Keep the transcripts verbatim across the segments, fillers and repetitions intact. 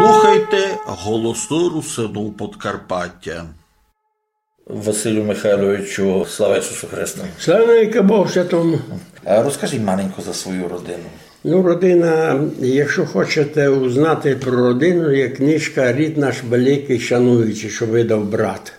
Слухайте Голосы Русинув Подкарпатя. Василю Михайловичу, слава Ісусу Христу! Слава навікы Богу Святому! А розкажіть маленько за свою родину. Ну, родина, якщо хочете узнати про родину, є книжка «Рід наш великый, шануючий», що видав брат.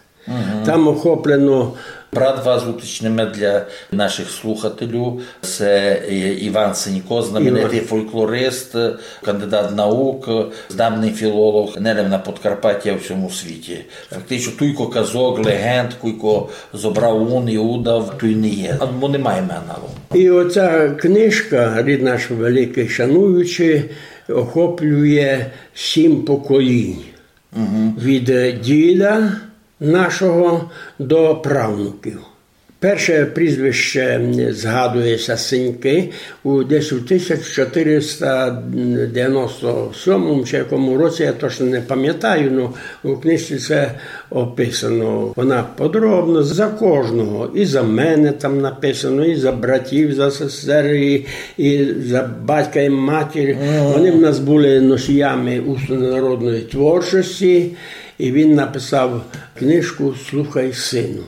Там охоплено. Брат ваш, уточниме для наших слухателів, се, е, Іван Сенько, знаменитый фольклорист, кандидат наук, знаменый філолог, не лем на Подкарпатю, а в усьому світі. Фактично, туйко казок, легенд, куйко зобрав ун і удав, туй не є. Або не маєме аналогу. І оця книжка «Рід наш великый, шануючий» охоплює сім поколінь. Від, е, діда нашого до правнуків. Перше прізвище, м, згадує ся Сенькы у, десь у тисяча чотириста девяносто сьомому чи якому році, я точно не пам'ятаю, но у книжці це описано. Вона подробно за кожного, і за мене там написано, і за братів, за сестер, і, і за батька і матір. Вони в нас були носіями усної народної творчості, і він написав книжку «Слухай, сину».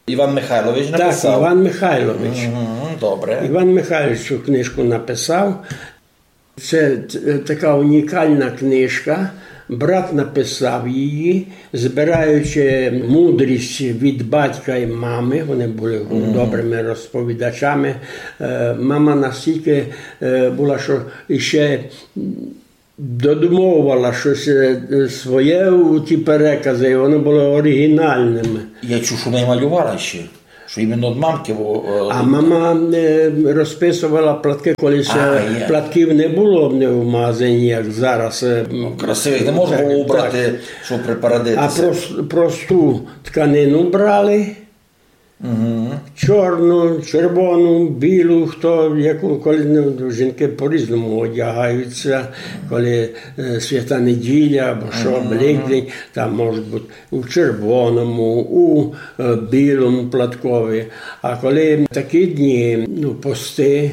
Іван Михайлович написав? Так, Іван Михайлович. Мгм, добре. Іван Михайлович цю книжку написав. Це т-, така унікальна книжка. Брат написав її, збираючи мудрість від батька і мами. Вони були добрими розповідачами. Е, мама настільки, е, була, що іще додумовувала щось, е, своє у ті перекази, і вони були оригінальними. Я чув, що вона й малювала ще, що іменно від мамки, бо, е, А мама, е, розписувала платки, коли ще А, є. платків не було в магазині, як зараз, е, Ну, красивих не можна було так. убрати, щоб припарадити А ся. прос-, просту тканину брали, чорну, червону, білу, хто яку, коли, ну, жінки по-різному одягаються, коли, е, свята неділя або що, Великдень, там можуть бути у червоному, у, е, білому платкові. А коли такі дні, ну, пости,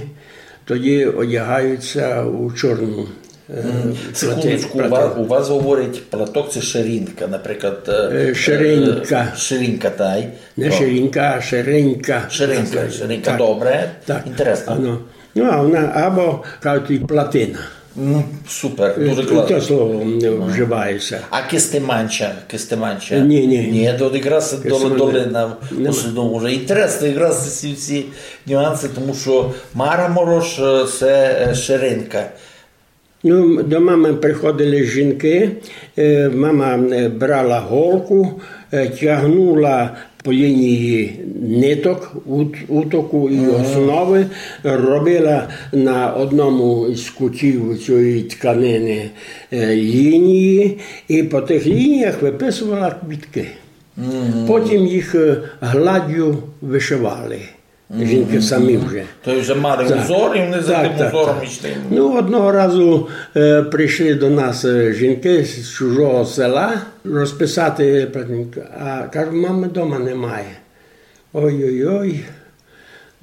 тоді одягаються у чорну, е, М, секундочку, у плати-, вас, у вас говорять платок, це ширинка, наприклад, е, Е, ширинка. е, ширинка, тай. Не То. ширинка, а ширинка. Ширинка, ширинка, Так. добре. Так. Інтересно. Ано. Ну, а вона або, кажуть, і платина. Ну, супер, Е, дуже і класно. те слово не вживається. А кистеманча, кистеманча? Е, ні, ні. Ні, то якраз Кистеманча. долина в Нема. основному вже. Інтересно, якраз ці всі нюанси, тому що Мара Морош, е, це, е, ширинка. Ну, до мами приходили жінки, е, мама, е, брала голку, е, тягнула по лінії ниток, ут-, утоку і основи, робила на одному з кутів цієї тканини, е, лінії, і по тих лініях виписувала квітки. Потім їх, е, гладдю вишивали. Жінки самі вже. То вже мали Так. узор, і вони за Так, тим так, узором так. йшли. Ну, одного разу, е, прийшли до нас, е, жінки з чужого села розписати, а кажу, мами дома немає. Ой-ой-ой.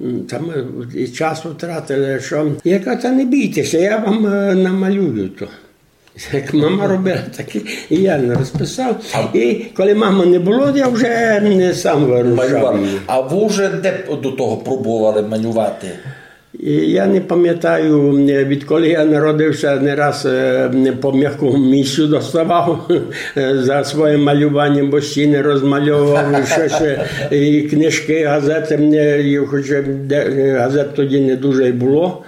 М, там, е, і час втратили, що. Я кажу, та не бійтеся, я вам, е, намалюю то. Як мама робила, так і я не розписав. А І коли мами не було, я вже не сам вирушав. Малював. А ви вже де до того пробували малювати? І я не пам'ятаю, відколи я народився, не раз, е, по м'якому місцю доставав, е, за своє малювання, бо стіни розмальовував, і щось, е, і книжки, газети, мені, і хоч, е, де, е, газет тоді не дуже й було.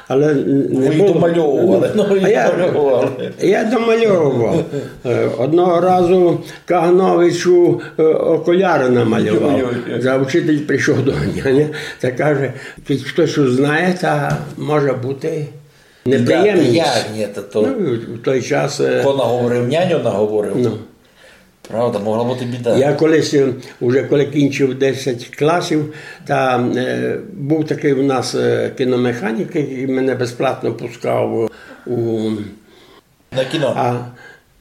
Але н-, не Ви їх було. домальовували, Ну, ну, ви а їх я, домальовували. я домальовував. Е, одного разу Кагановичу, е, окуляри намалював. Ой-ой-ой. За учитель прийшов до мене, ні? Та каже, «Кідь хтось узнає, та може бути неприємність». Я, ні, та то Ну, в той час, е, Хто наговорив, няню наговорив. Ну. Правда, могла бути біда. Я колись, е, уже коли кінчив десять класів, та, е, був такий у нас, е, кіномеханік, який мене безплатно пускав у На кіно. А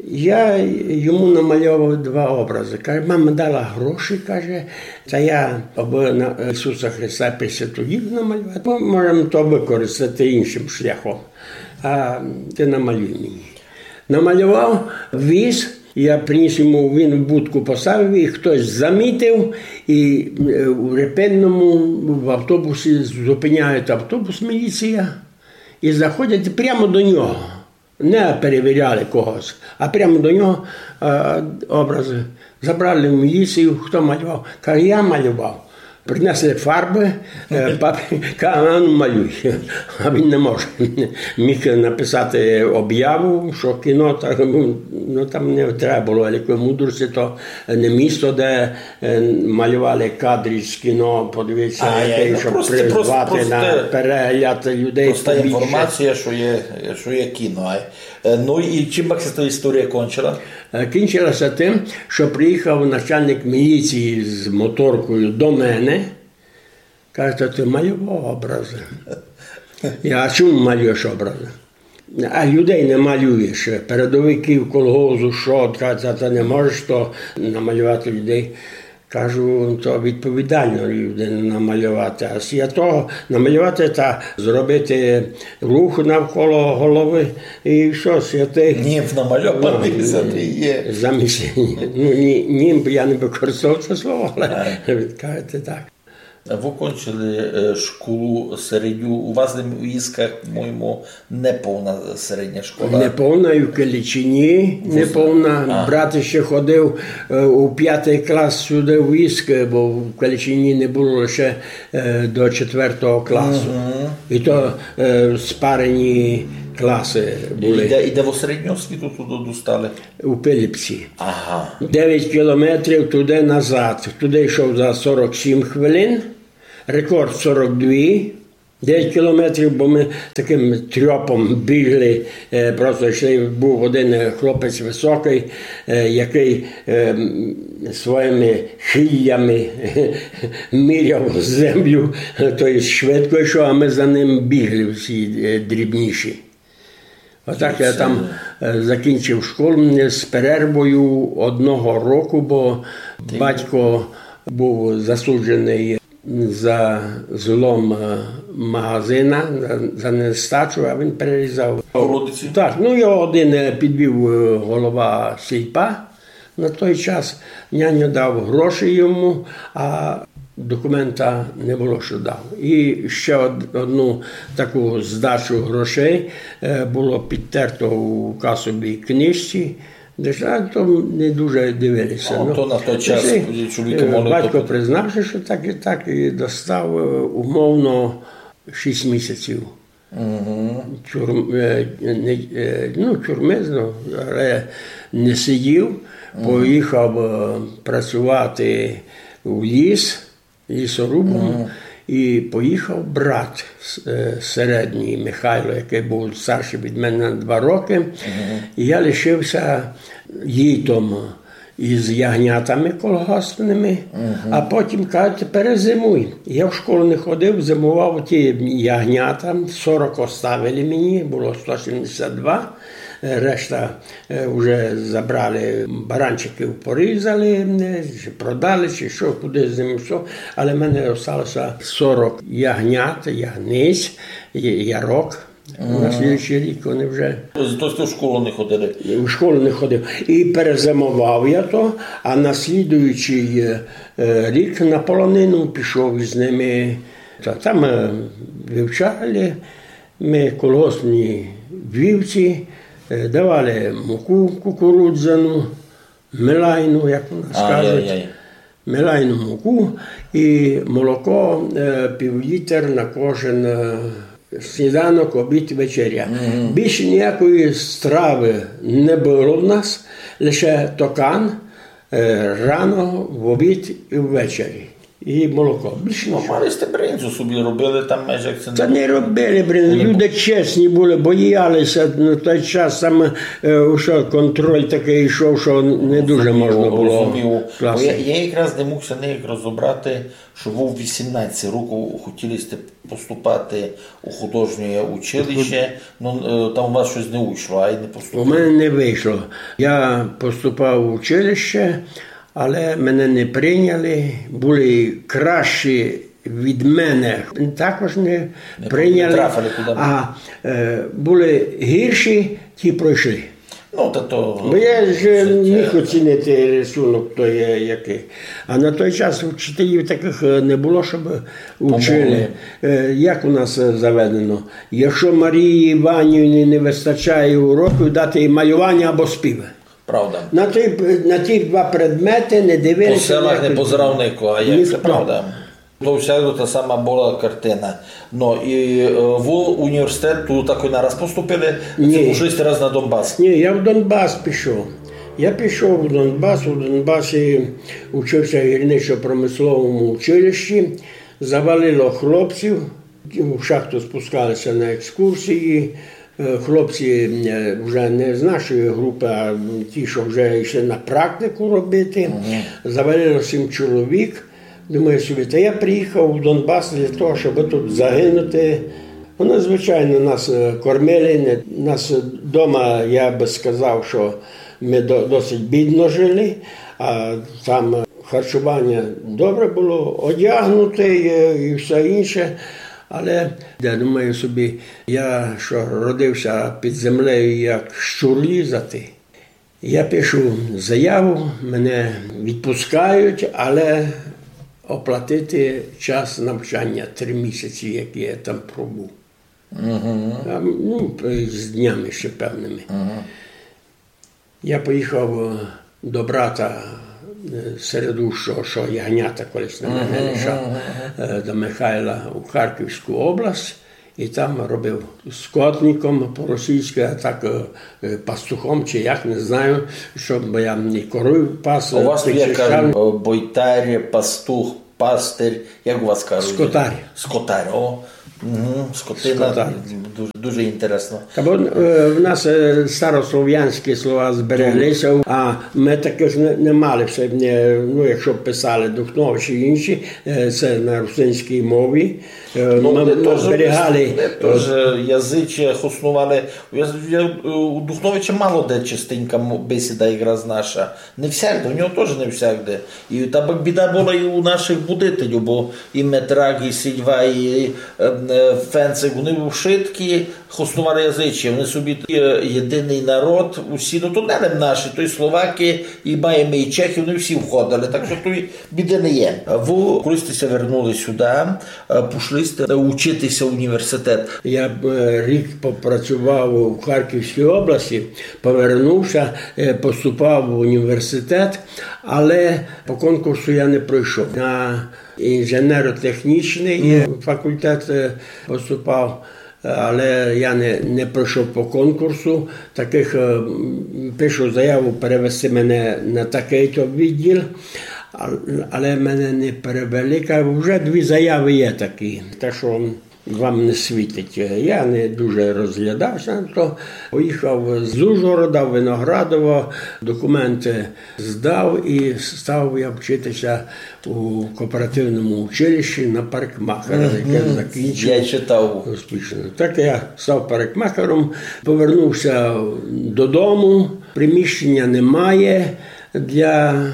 я йому намальовував два образи. Каже, мама дала гроші, каже, та я, аби на Ісуса Христа Пресвяту Діву намалювати, бо можемо то використати іншим шляхом. А ти намалюй мені. Намалював віз, я приніс йому, він в будку поставив, і хтось замітив, і е, у Репинному в автобусі зупиняють автобус, міліція, і заходять прямо до нього. Не перевіряли когось, а прямо до нього е, образи. Забрали в міліцію, хто малював? Каже, я малював. Принесли фарби, е, папір, каже, а ну малюй. А він не може. Міг написати обяву, що кіно, так, ну, ну, там не треба було великої мудрості, то не місто, де е, малювали кадри з кіно, подивіться, А, яке, ну, щоб просто, призвати просто, на просто, перегляд людей Проста побільше. Інформація, що є, що є кіно. Ай. Е, Ну і чим пак ся та історія кончила? Е, Кінчилася тим, що приїхав начальник міліції з моторкою до мене. Каже, то ти малював образи? Я, а чому малюєш образи? А людей не малюєш. Передовиків колгозу, що, та, та, та не можеш то намалювати людей. Кажу, то відповідально людину намалювати. А я того намалювати та зробити рух навколо голови і все, святий. Німф намальований, Ну, за не є. Замість, ну, ні, німф я не використовував це слово, але кажете так. Ви кончили е, школу середню. У вас у Вісках, по-моєму, неповна середня школа. Неповна і в Калічині, неповна. Брат ще ходив е, у п'ятий клас сюди в Віск, бо в Калічині не було лише е, до четвертого класу. І то е, спарені класи І були де, і де ви середню освіту туди достали? У Пилипці. Ага. Дев'ять кілометрів туди-назад. Туди йшов за сорок сім хвилин, рекорд сорок дві. Дев'ять кілометрів, бо ми таким трьопом бігли, е, просто йшли, був один е, хлопець високий, е, який е, м, своїми хиллями міряв землю, то є швидко йшов, а ми за ним бігли всі е, дрібніші. Отак я там е, закінчив школу з перервою одного року, бо батько був засуджений за злом е, магазина, за, за нестачу, а він перерізав. Колодиці? Так, ну його один е, підвів е, голова сільпа на той час. Няньо дав гроші йому, а документа не було, що дав. І ще од- одну таку здачу грошей е, було підтерто у касовій книжці. Де ж, а то не дуже дивилися. Ну, то на той час Пішли, чоловіки е, могли батько купити. Признав, що так і так, і достав е, умовно шість місяців. Тюрм, е, не, е, ну, тюрми, ну, але не сидів, поїхав е, працювати в ліс, лісорубом, і поїхав брат с- е, середній Михайло, який був старший від мене на два роки. І я лишився їтом із ягнятами колгоспними, а потім кажуть, перезимуй. Я в школу не ходив, зимував ті ягнята, сорок оставили мені, було сто сімдесят два, е, решта е, вже забрали, баранчиків порізали, е, чи продали, чи що, куди з ними що. Але в мене осталося сорок ягнят, ягниць, я- ярок. На слідуючий рік вони вже Тобто в школу не ходили? У школу не ходив. І перезимував я то, а на слідуючий е, рік на полонину пішов із ними. Та там е, вивчали ми колгоспні вівці, е, давали муку кукурудзяну, мелайну, як у нас кажуть. Мелайну муку і молоко е, пів літр на кожен е, сніданок, обід, вечеря. Більше ніякої страви не було в нас, лише токан е, рано, в обід і ввечері. І молоко. Більше Ну, нічого. Мали сте бринзу собі, робили там майже як це. Та не робили, блин, люди чесні були, боялися на той час, там е, що контроль такий йшов, що не дуже можна було Розумів. Бо класти. Я, я якраз не мог ся ніяк розібрати, що ви в вісімнадцять років хотіли сте поступати у художнє училище, ну е, там у вас щось не вийшло, а й не У поступили. мене не вийшло. Я поступав в училище, але мене не прийняли. Були кращі від мене, також не, Не прийняли. трафили туди. А е, були гірші, ті пройшли. Ну, та то... Бо я ж, е, міг оцінити рисунок, то є який. А на той час вчителів таких, е, не було, щоб учили. Е, як у нас, е, заведено? Якщо Марії Іванівні не вистачає уроків, дати їй малювання або співи. Правда. На ті, на ті два предмети не дивилися. По селах не позирав нико, а як це правда. То всяко та сама была картина. Но і, е, вы університет ту так і нараз поступили, ци пішли сте раз на Донбас? Ні, я в Донбас пішов. Я пішов в Донбас, у Донбасі учився в гірничо-промисловому училищі, завалило хлопців, в шахту спускалися на екскурсії, е, хлопці, е, вже не з нашої групи, а ті, що вже йшли на практику робити. Завалило сім чоловік. Думаю собі, та я приїхав в Донбас для того, щоб тут загинути. Вони, звичайно, нас, е, кормили, не, нас дома, я би сказав, що ми до-, досить бідно жили, а там харчування добре було, одягнути і, і все інше. Але я думаю собі, я що родився під землею, як щур лізати. Я пишу заяву, мене відпускають, але оплатити час навчання, три місяці, які я там пробув. А, ну, з днями ще певними. Я поїхав, е, до брата, е, середущого, що ягнята колись на мене лишав, е, до Михайла у Харківську область, і там робив скотником по-російськи, а так, е, е, пастухом, чи як, не знаю, що, бо я і корів пас. У вас, е, як кажуть, е, бойтар, пастух, пастир, як у вас кажуть? Скотар. Скотар, о. Угу, скотина. Скотар. Дуже, дуже інтересно. Та бо, е, в нас, е, старослов'янські слова збереглися, а ми таких не, не мали все, е, ну, якщо писали Духнович і інші, е, це на русинській мові. Е, ну, ми, ми зберігали, е, теж язичі хоснували. Я, я, е, у Духновича мало де чистенька мо-, бесіда якраз наша. Не всякде, у нього теж не всякде. І та б-, біда була і у наших будителів, бо і Метрак, і Сільва, і, е, е, Фенцик, вони вшыткі хоснували язичі. Вони собі, е, єдиний народ, усі, ну, то не лем наші, то й словаки, і маєме і чехи, вони всі входили. Так що туй біды не є. Вы, коли сте ся вернули сюди, е, пішли сте учитися в університет. Я, е, рік попрацював у Харківській області, повернувся, е, поступав в університет, але по конкурсу я не пройшов. На інженерно-технічний факультет, е, поступав, але я не, не пройшов по конкурсу. Таких, е, м, пишу заяву перевести мене на такий-то відділ, а-, але мене не перевели. Кажу, вже дві заяви є такі, так що вам не світить. Я не дуже розглядався на то. Поїхав з Ужгорода в Виноградово, документи здав і став я вчитися у кооперативному училищі на парикмахера, яке закінчив. Я читав. Успішно. Так я став парикмахером, повернувся додому, приміщення немає для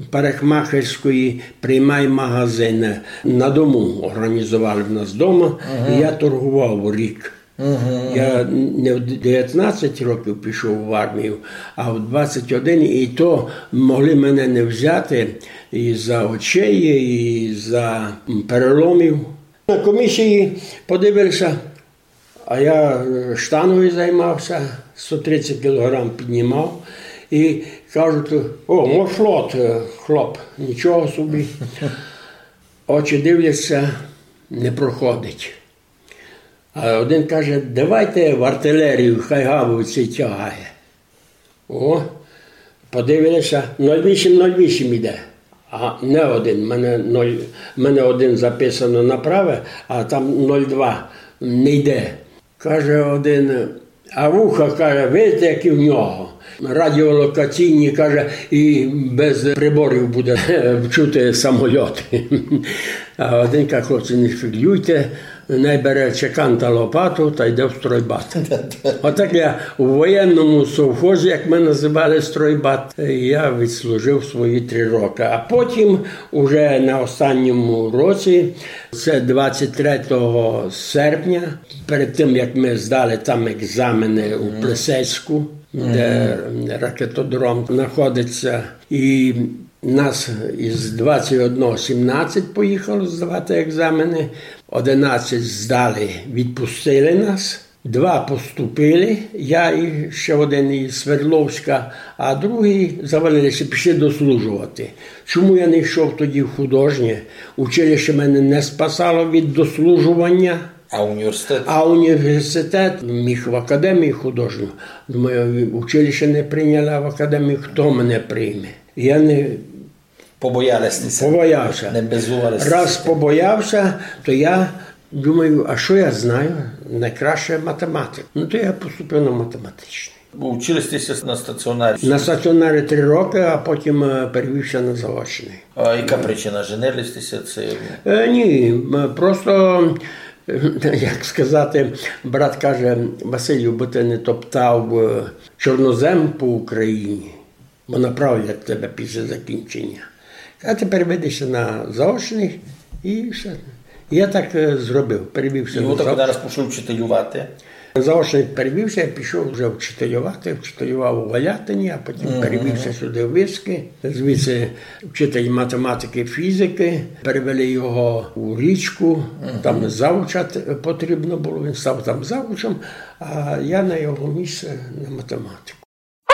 парикмахерської, приймай магазини. На дому організували в нас дома, і я торгував рік. Я не в девятнадцять років пішов в армію, а в двадцять один, і то могли мене не взяти і за очей, і за, м, переломів. На комісії подивився, а я, е, штангою займався, сто тридцять кілограм піднімав, і кажуть: «О, морфлот, е, хлоп, нічого собі». Очі дивляться, не проходить. А один каже: «Давайте в артилерію, хай гаубиці тягає». О, подивилися, нуль вісім, нуль вісім іде. А не один, мене нуль, мене один записано направе, а там нуль два не йде. Каже один: «А вуха», каже, «видите, які в нього? Радіолокаційні», каже, «і без приборів буде чути самольоти». А один каже: «Хлопці, не шпіґлюйте, най бере чекан та лопату та йде в стройбат». Отак я у воєнному совхозі, як ми називали стройбат, я відслужив свої три роки. А потім, уже на останньому році, це двадцять третього серпня, перед тим, як ми здали там екзамени у Плесецьку, де ракетодром знаходиться. І нас із двадцять одного сімнадцять поїхало здавати екзамены, одинадцять здали, відпустили нас. Два поступили, я і ще один із Свердловська, а другі завалили ся, пішли дослужовати. Чому я не йшов тоді в художнє? Училище мене не спасало від дослужування. А університет? А університет міг в академію художню. Думаю, училище не прийняли, а в академію хто мене прийме? Я не Побояли сте ся? Побояв ся. Не безували сте Раз ся? Побояв ся, то я думаю, а що я знаю? Найкраще математика. Ну, то я поступив на математичний. Учили сте ся на стаціонарі? На стаціонарі три роки, а потім е, перевів ся на заочний. А яка причина? Женили сте ся? Це... Е, ні, м, просто, е, як сказати, брат каже: «Василю, бы ты не топтав е, чорнозем по Україні, бо направлять тебе після закінчення. А тепер веди ся на заочний», і все. Я так е, зробив, перевів ся І на ви так заочний. Зараз пішли вчителювати? Заочний перевів ся, я пішов вже вчителювати, вчителював у Валятині, а потім перевів ся сюди в Виски. Звідси вчитель математики, фізики, перевели його у Річку, там завуча т- потрібно було, він став там завучом, а я на його місце на математику.